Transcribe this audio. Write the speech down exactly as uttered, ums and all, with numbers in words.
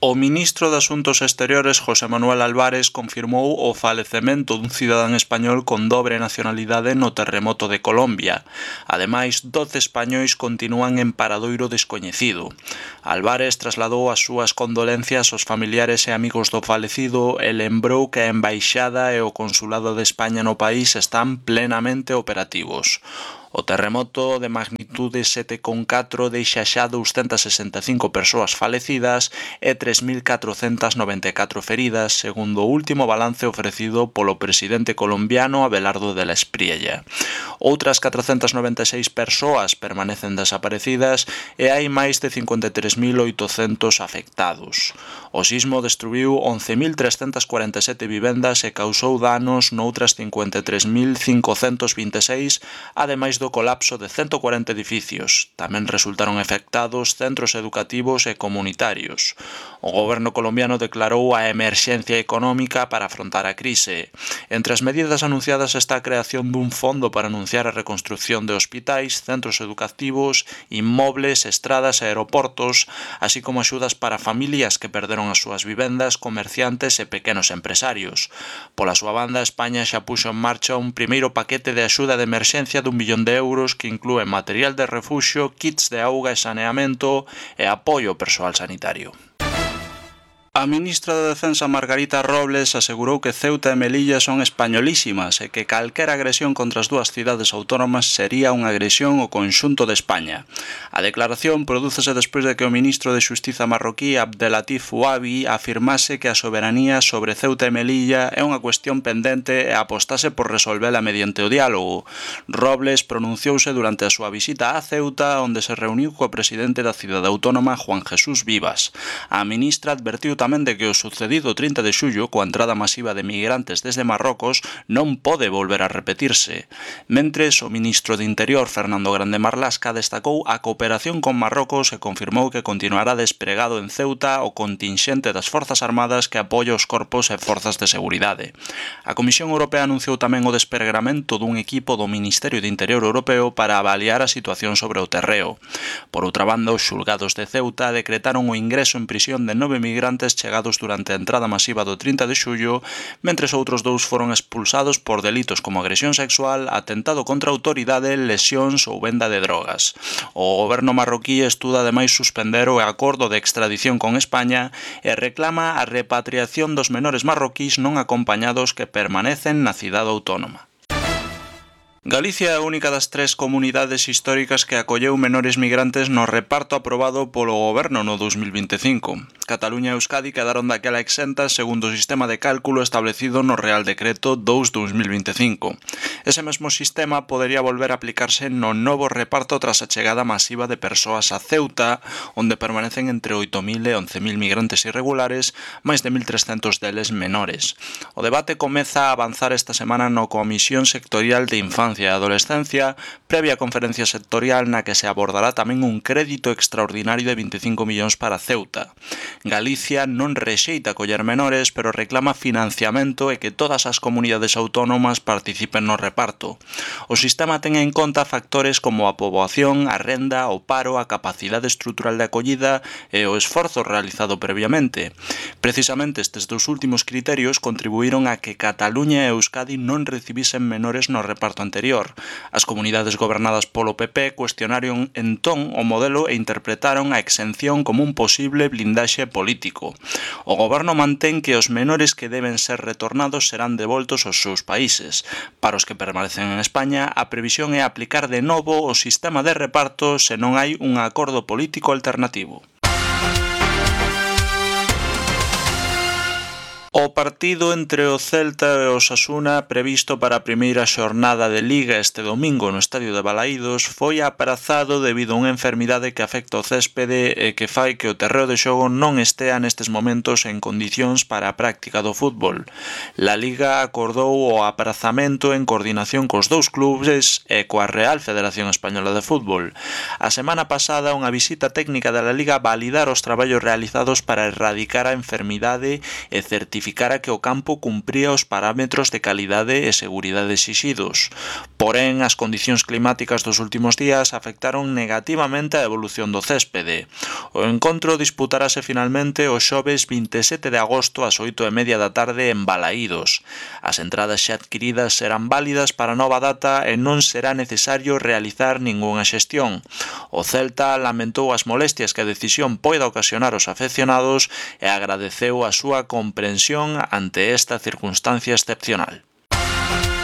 O ministro de Asuntos Exteriores, José Manuel Álvarez, confirmou o falecemento dun cidadán español con dobre nacionalidade no terremoto de Colombia. Ademais, doce españois continúan en paradoiro descoñecido. Álvarez trasladou as súas condolencias aos familiares e amigos do falecido e lembrou que a Embaixada e o Consulado de España no país están plenamente operativos. O terremoto de magnitude sete coma catro deixa xa douscentas sesenta e cinco persoas falecidas e tres mil catrocentas noventa e catro feridas, segundo o último balance ofrecido polo presidente colombiano Abelardo de la Espriella. Outras catrocentas noventa e seis persoas permanecen desaparecidas e hai máis de cincuenta e tres mil oitocentos afectados. O sismo destruiu once mil trescentas cuarenta e sete vivendas e causou danos noutras cincuenta e tres mil cincocentos vinte e seis, ademais do colapso de ciento cuarenta edificios. Tamén resultaron afectados centros educativos e comunitarios. O goberno colombiano declarou a emerxencia económica para afrontar a crise. Entre as medidas anunciadas está a creación dun fondo para anunciar a reconstrucción de hospitais, centros educativos, inmobles, estradas e aeroportos, así como axudas para familias que perderon as súas vivendas, comerciantes e pequenos empresarios. Pola súa banda, España xa puxo en marcha un primeiro paquete de axuda de emerxencia dun millón de euros que inclúe material de refuxio, kits de auga e saneamento e apoio ao persoal sanitario. A ministra de Defensa Margarita Robles asegurou que Ceuta e Melilla son españolísimas e que calquera agresión contra as dúas cidades autónomas sería unha agresión ao conxunto de España. A declaración prodúcese despois de que o ministro de Xustiza marroquí Abdelatif Ouabi afirmase que a soberanía sobre Ceuta e Melilla é unha cuestión pendente e apostase por resolvela mediante o diálogo. Robles pronunciouse durante a súa visita a Ceuta, onde se reuniu co presidente da cidade autónoma Juan Jesús Vivas. A ministra advertiu tamén de que o sucedido trinta de xullo coa entrada masiva de migrantes desde Marrocos non pode volver a repetirse. Mentres, o ministro de Interior Fernando Grande Marlasca destacou a cooperación con Marrocos e confirmou que continuará despregado en Ceuta o contingente das Forzas Armadas que apoia os corpos e forzas de seguridade. A Comisión Europea anunciou tamén o despregamento dun equipo do Ministerio de Interior Europeo para avaliar a situación sobre o terreo. Por outra banda, os xulgados de Ceuta decretaron o ingreso en prisión de nove migrantes chegados durante a entrada masiva do trinta de xullo, mentres outros dous foron expulsados por delitos como agresión sexual, atentado contra a autoridade, lesións ou venda de drogas. O goberno marroquí estuda ademais suspender o acordo de extradición con España e reclama a repatriación dos menores marroquís non acompañados que permanecen na cidade autónoma. Galicia é a única das tres comunidades históricas que acolleu menores migrantes no reparto aprobado polo goberno no dos mil vinte e cinco. Cataluña e Euskadi quedaron daquela exentas segundo o sistema de cálculo establecido no Real Decreto dous barra dos mil vinte e cinco. Ese mesmo sistema podería volver a aplicarse no novo reparto tras a chegada masiva de persoas a Ceuta, onde permanecen entre oito mil e once mil migrantes irregulares, máis de mil trescentos deles menores. O debate comeza a avanzar esta semana no Comisión Sectorial de Infancia e Adolescencia, previa conferencia sectorial na que se abordará tamén un crédito extraordinario de vinte e cinco millóns para Ceuta. Galicia non rexeita coller menores, pero reclama financiamento e que todas as comunidades autónomas participen no reparto. O sistema ten en conta factores como a poboación, a renda, o paro, a capacidade estrutural de acollida e o esforzo realizado previamente. Precisamente estes dous últimos criterios contribuíron a que Cataluña e Euskadi non recibisen menores no reparto anterior. As comunidades gobernadas polo P P cuestionaron entón o modelo e interpretaron a exención como un posible blindaxe político. O goberno mantén que os menores que deben ser retornados serán devoltos aos seus países. Para os que permanecen en España, a previsión é aplicar de novo o sistema de reparto se non hai un acordo político alternativo. O partido entre o Celta e o Osasuna previsto para a primeira xornada de Liga este domingo no estadio de Balaídos foi aprazado debido a unha enfermidade que afecta o céspede e que fai que o terreo de xogo non estea nestes momentos en condicións para a práctica do fútbol. La Liga acordou o aprazamento en coordinación cos dous clubes e coa Real Federación Española de Fútbol. A semana pasada, unha visita técnica da La Liga validar os traballos realizados para erradicar a enfermidade e certificar certificara que o campo cumpría os parámetros de calidade e seguridade exixidos. Porén, as condicións climáticas dos últimos días afectaron negativamente a evolución do céspede. O encontro disputarase finalmente o xoves vinte e sete de agosto ás oito e media da tarde en Balaídos. As entradas xa adquiridas serán válidas para a nova data e non será necesario realizar ningunha xestión. O Celta lamentou as molestias que a decisión poida ocasionar aos afeccionados e agradeceu a súa comprensión ante esta circunstancia excepcional.